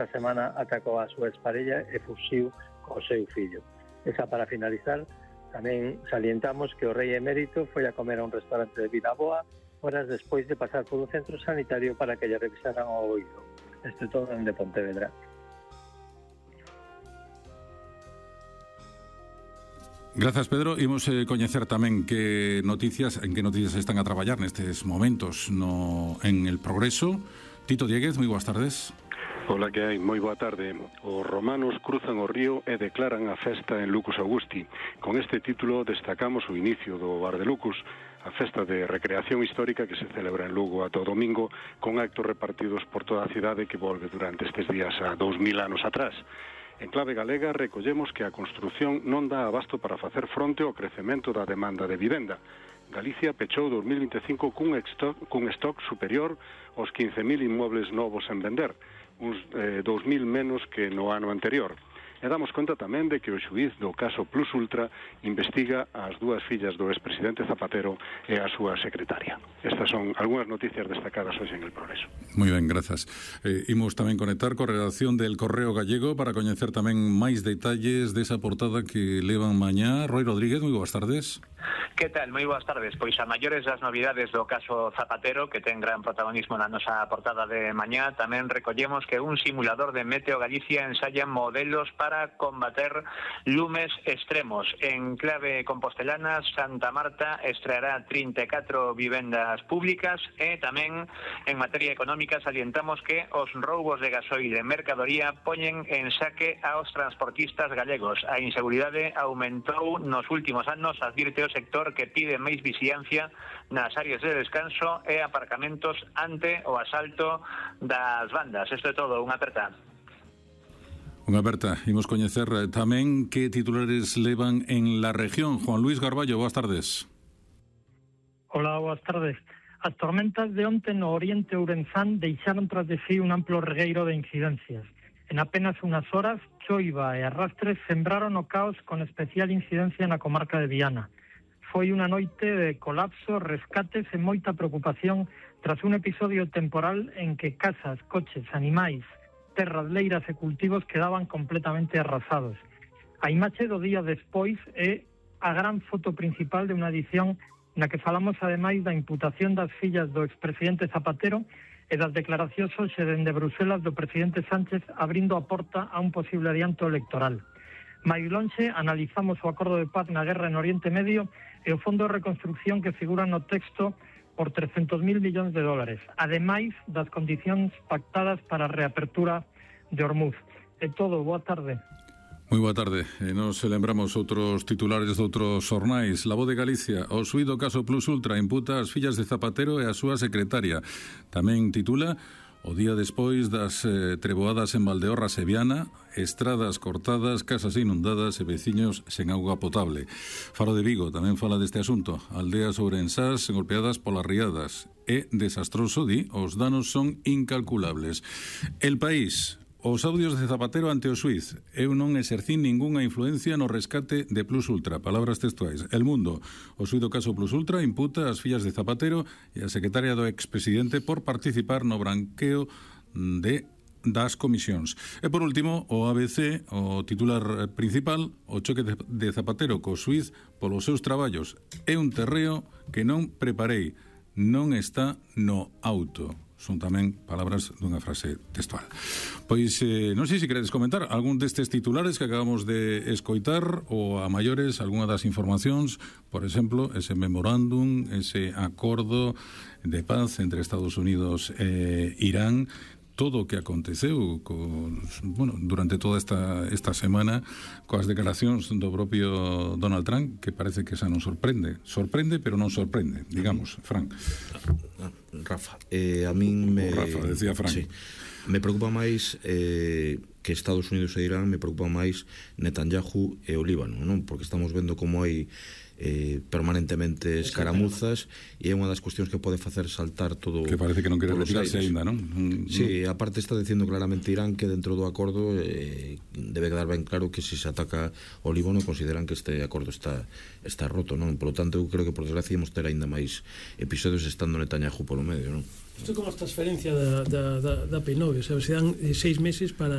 esta semana atacou a súa exparella e fuxiu co seu fillo. Esa para finalizar, tamén salientamos que o rei emérito foi a comer a un restaurante de Vilaboa horas despois de pasar por un centro sanitario para que lle revisaran o oído. Isto é todo en de Pontevedra. Grazas, Pedro. Imos coñecer tamén en que noticias están a traballar nestes momentos en El Progreso. Tito Dieguez, moi boas tardes. Ola, que hai? Moi boa tarde. Os romanos cruzan o río e declaran a festa en Lucus Augusti. Con este título destacamos o inicio do Bar de Lucus, a festa de recreación histórica que se celebra en Lugo a todo domingo, con actos repartidos por toda a cidade que volve durante estes días a 2000 anos atrás. En clave galega recollemos que a construción non dá abasto para facer fronte ao crecemento da demanda de vivenda. Galicia pechou 2025 cun stock superior aos 15.000 inmuebles novos en vender, uns 2.000 menos que no ano anterior. E damos conta tamén de que o xuíz do caso Plus Ultra investiga as dúas fillas do expresidente Zapatero e a súa secretaria. Estas son algunhas noticias destacadas hoxe en El Progreso. Moi ben, grazas. Imos tamén conectar co redacción del Correo Gallego para coñecer tamén máis detalles desa portada que levan mañá. Roy Rodríguez, moi boas tardes. Que tal? Moi boas tardes. Pois a maiores das novidades do caso Zapatero, que ten gran protagonismo na nosa portada de mañá, tamén recollemos que un simulador de Meteo Galicia ensaya modelos para combater lumes extremos. En clave compostelana, Santa Marta estreará 34 vivendas públicas e tamén en materia económica salientamos que os roubos de gasoil e mercadoría poñen en saque aos transportistas galegos. A inseguridade aumentou nos últimos anos, advirte o sector que pide máis vixilancia nas áreas de descanso e aparcamentos ante o asalto das bandas. Isto é todo, unha aperta. Unha aperta. Imos coñecer tamén que titulares levan en la región. Juan Luis Garballo, boas tardes. Hola, boas tardes. As tormentas de onte no oriente ourenzán deixaron tras de sí un amplo regueiro de incidencias. En apenas unas horas, choiva e arrastres sembraron o caos con especial incidencia na comarca de Viana. Foi unha noite de colapso, rescates e moita preocupación tras un episodio temporal en que casas, coches, animais, terras, leiras e cultivos quedaban completamente arrasados. A imaxe do día despois é a gran foto principal de unha edición na que falamos ademais da imputación das fillas do expresidente Zapatero e das declaracións hoxe dende Bruselas do presidente Sánchez abrindo a porta a un posible adianto electoral. Máis lonxe, analizamos o acordo de paz na guerra en Oriente Medio e o fondo de reconstrucción que figura no texto por 300.000 millóns de dólares, ademais das condicións pactadas para a reapertura de Hormuz. É todo, boa tarde. Moi boa tarde. Nos lembramos outros titulares de outros xornais. La Voz de Galicia, o suído caso Plus Ultra imputa as fillas de Zapatero e a súa secretaria. Tamén titula o día despois das treboadas en Valdeorras e Viana, estradas cortadas, casas inundadas e veciños sen auga potable. Faro de Vigo tamén fala deste asunto. Aldeas ourensás golpeadas polas riadas. É desastroso, di, os danos son incalculables. El País, os audios de Zapatero ante o xuíz. Eu non exercín ningunha influencia no rescate de Plus Ultra. Palabras textuais. El Mundo, o suído caso Plus Ultra imputa as fillas de Zapatero e a secretaria do expresidente por participar no branqueo das comisións. E por último, o ABC, o titular principal, o choque de Zapatero co xuíz polos seus traballos. É un terreo que non preparei, non está no auto. Son tamén palabras dunha frase textual. Pois non sei se queredes comentar algún destes titulares que acabamos de escoitar ou a maiores algunha das informacións, por exemplo, ese memorándum, ese acordo de paz entre Estados Unidos e Irán, todo o que aconteceu durante toda esta semana coas declaracións do propio Donald Trump, que parece que xa non sorprende, pero non sorprende, digamos, Fran. Rafa, a min me... Rafa, decía Fran. Sí, me preocupa máis que Estados Unidos e Irán, me preocupa máis Netanyahu e o Líbano, non? Porque estamos vendo como hai permanentemente escaramuzas e é unha das cuestións que pode facer saltar todo. Que parece que non quere retirarse aínda, non? Sí, aparte está dicindo claramente Irán que dentro do acordo debe quedar ben claro que se ataca o Líbano consideran que este acordo está roto, non? Por lo tanto, eu creo que por desgracia imos ter aínda máis episodios estando Netanyahu polo medio, non? Isto é como a transferencia da P9, o sea, se dan 6 meses para